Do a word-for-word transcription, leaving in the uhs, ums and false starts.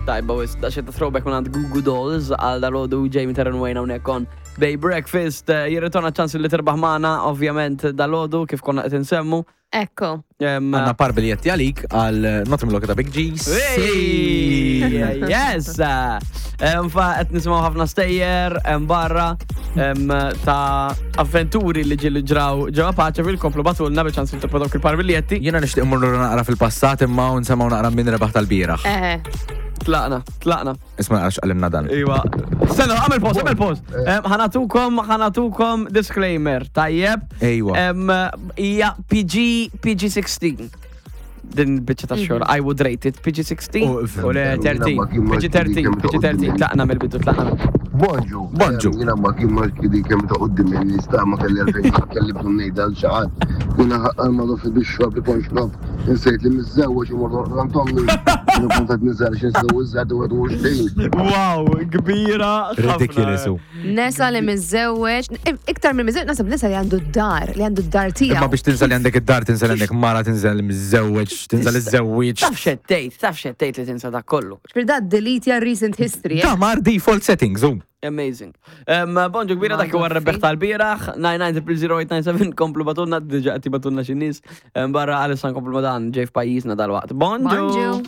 Tajba, wisq, da xetta throwback minn għand Goo Goo Dolls għal dal-għodu Jamie Terran Wayne hawnhekk on Bay Breakfast. Eh, Jirritorna ċans li tirbaħ magħna, ovvjament dal-għodu kif konna qed insemmu. Ekku. Em, Għandna par biljetti għalik għal Not Look ta' Big G's. Hey, yes! Em, Fa qed nisimgħu ħafna stejjer em, barra em, ta' avventuri li ġieli ġraw ġewwa Paċeville, komplu ibagħtulna biex ċans li dawk il-par biljetti. Jiena nixtieq mmorru naqra fil-passat imma u nsemgħu naqra min rebaħ tal-bieraħ. Eħe. Tlaqna, tlaqna. Isma' naqra x'qalimna dan. Iwa. Stenna, għamel pause, għamel pause. Em, Ħa nagħtukom, ħa nagħtukom disclaimer, tajjeb. Ejwa. Em, Hija P G, P G sixteen. Din biċċa ta' xogħol, I would rate it P G sixteen Oh, u le tlettax, P G tlettax, P G tlettax, tlaqna mill-bidu, tlaqna mill Bonġu. Bonġu. Jiena ma kien ma kien kemm ta' qudiem nista' ma kelli għalfejn kelli bżonn ngħidha l xi ħadd. Jiena ma fi bix-xorb li kont xrob. Insejt li miżżewweġ u morru rantomni. Jiena kont qed niżel xi nsew iżgħar u għedu. Wow, kbira. Ħafna. Ridiculous. u. Nesa li miżżewweġ, iktar minn miżżewweġ, nasab nesa li għandu d-dar, li għandu d-dar Imma tiegħu. biex tinsa li għandek id-dar, tinsa li għandek mara, tinsa li miżżewweġ, tinsa li żewwieġ. Taf xettejt, taf xettejt li tinsa dak kollu. Per da delete ja recent history, eh? Da mar default settings, u. Amazing. Um, bonġu kbira, dak huwa rebeħ tal-bieraħ, nine nine zero zero eight nine seven, komplu ibagħtulna, diġà qed jibagħtulna xi nies. Um, barra għalissa nkomplu ma dan ġej f'pajjiżna dal-waqt. Bonġu. Bonġu.